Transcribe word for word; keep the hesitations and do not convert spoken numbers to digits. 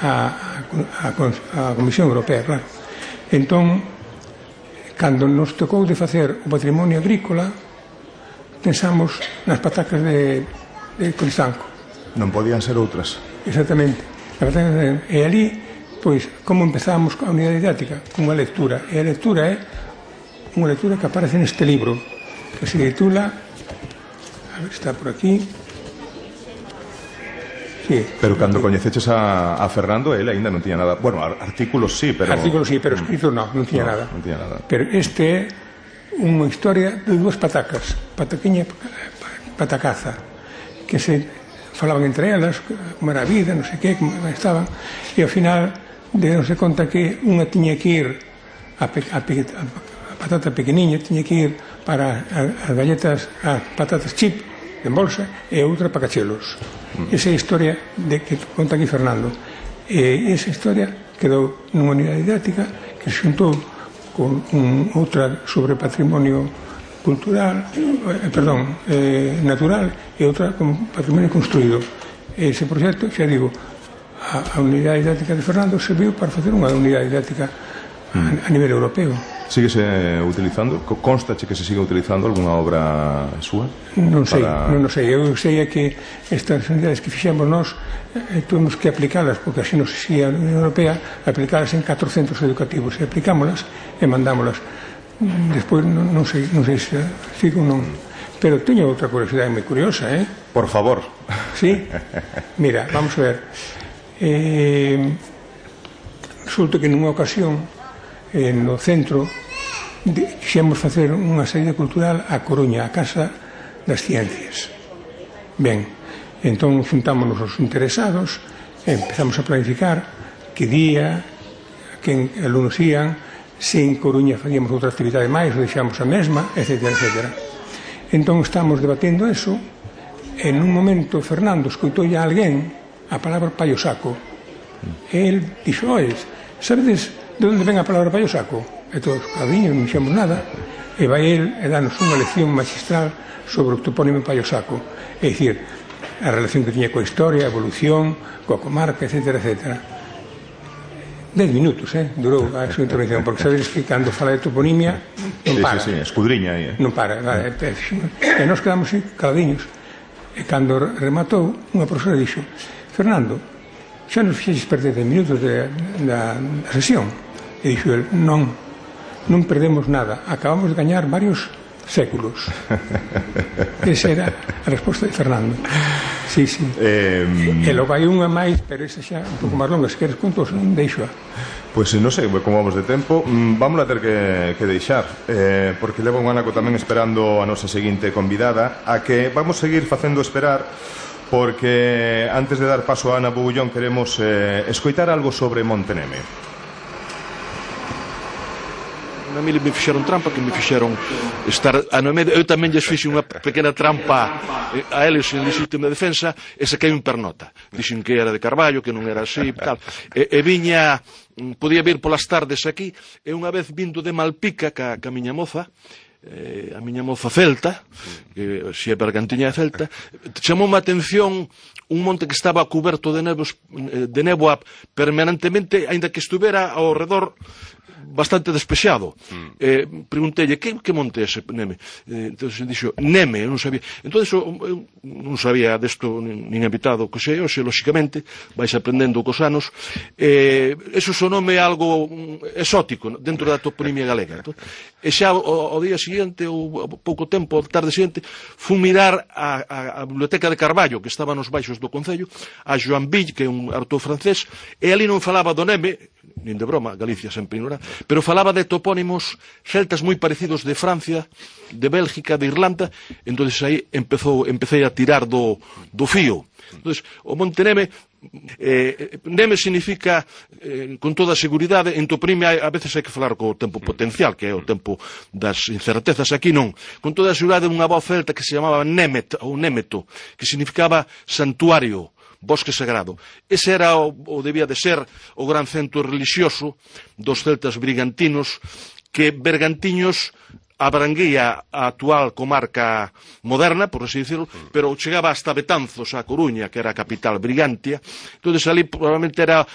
a, a, a Comisión Europea, claro. Entón, cando nos tocou de facer o patrimonio agrícola, pensamos nas patacas de, de Cristanco. Non podían ser outras. Exactamente. E ali, pois, como empezamos a unidade didáctica? Con unha lectura. E a lectura é unha lectura que aparece neste libro, que se titula, a ver, está por aquí. Sí. Pero cando coñeceches a, a Fernando, ele ainda non tiña nada. Bueno, artículos sí, pero... Artículos sí, pero escritos non, non tiña no, nada. Non tiña nada. Pero este é unha historia de dúas patacas, pataquiña e patacaza, que se falaban entre elas, como era a vida, non sei que, como estaban, e ao final deronse conta que unha tiña que ir a, pe, a, pe, a patata pequeniña, tiña que ir para as galletas, as patatas chip en bolsa, e outra para cachelos. Mm. Esa é a historia de que conta aquí Fernando. E esa historia quedou nunha unidade didáctica que se xuntou con un, outra sobre patrimonio cultural, eh, perdón, eh, natural, e outra con patrimonio construído. Ese proxecto, xa digo, a, a unidade didáctica de Fernando serviu para facer unha unidade didáctica a, a nivel europeo. Síguese utilizando? Constache que se siga utilizando algunha obra súa? Non sei, para... non, non sei. Eu sei é que estas unidades que fixemos nós eh, tuvimos que aplicalas, porque así nos exigía a Unión Europea, aplicalas en catro centros educativos, e aplicámolas e mandámolas. Despois non, non sei, non sei se sigo ou non. Pero teño outra curiosidade moi curiosa, eh? Por favor. Sí? Mira, vamos a ver. Eh, resulta que nunha ocasión eh, no centro quixemos facer unha saída cultural a Coruña, a Casa das Ciencias. Ben, entón juntámonos os interesados e empezamos a planificar que día, que alumnos ían, se en Coruña facíamos outra actividade máis ou deixamos a mesma, etcétera, etcétera. Entón estamos debatendo eso e nun momento Fernando escoitou a alguén a palabra paio saco e el dixo, oi, sabedes de onde ven a palabra paio saco? E todos, cabiños, non dixemos nada, e vai el e danos unha lección magistral sobre o topónimo paio saco, é dicir, a relación que tiña coa historia, a evolución, coa comarca, etcétera, etcétera. Dez minutos, eh, durou a súa intervención, porque sabedes que cando fala de toponimia non para. Sí, sí, sí, escudriña aí. Non para, vale, e nós quedamos así, caladiños. E cando rematou, unha profesora dixo, Fernando, xa nos fixeches perder dez minutos de, da, da sesión. E dixo el, non, non perdemos nada, acabamos de gañar varios séculos. Esa era a resposta de Fernando. Sí, sí. Eh, e logo hai unha máis, pero esa xa un pouco máis longa, se queres contos, non deixo. Pois pues, non sei como vamos de tempo, vamos a ter que, que deixar, eh, porque leva un anaco tamén esperando a nosa seguinte convidada, a que vamos seguir facendo esperar, porque antes de dar paso a Ana Bogullón queremos eh, escoitar algo sobre Monteneme. A mí me fixeron trampa, que me fixeron estar a no medio. Eu tamén lles fixe unha pequena trampa a eles en legítima defensa, e saquei un pernota. Dixen que era de Carballo, que non era así, tal. E, e viña, podía vir polas tardes aquí, e unha vez vindo de Malpica ca, ca miña moza, eh, a miña moza celta, que si é bergantiña de Celta, chamou a atención un monte que estaba cuberto de, nebos, de néboa permanentemente, aínda que estuvera ao redor bastante despexado. Mm. Eh, pregunteille, que, que monte ese Neme? Eh, entón, dixo, Neme, eu non sabía. Entón, eu non sabía desto nin, nin invitado que sei, hoxe, lóxicamente, vais aprendendo cos anos. Eh, eso sonome algo exótico dentro da toponimia galega. Entón, e xa o, o día seguinte, ou pouco tempo, a tarde seguinte, fui mirar a, a, a biblioteca de Carballo, que estaba nos baixos do Concello, a Joan Ville, que é un autor francés, e ali non falaba do Neme, nin de broma, Galicia sempre ignorada, pero falaba de topónimos celtas moi parecidos de Francia, de Bélgica, de Irlanda. Entonces aí empezou, empecé a tirar do, do fío. Entonces, o monte Neme, eh, Neme significa, eh, con toda a seguridade, en toponimia a veces hai que falar co tempo potencial, que é o tempo das incertezas. Aquí non. Con toda a seguridade, unha voz celta que se chamaba Nemet, ou Németo, que significaba santuario, bosque sagrado. Ese era o, o debía de ser o gran centro religioso dos celtas brigantinos, que Bergantiños abranguía a actual comarca moderna, por así decirlo, pero chegaba hasta Betanzos, a Coruña, que era a capital Brigantia. Entonces ali probablemente era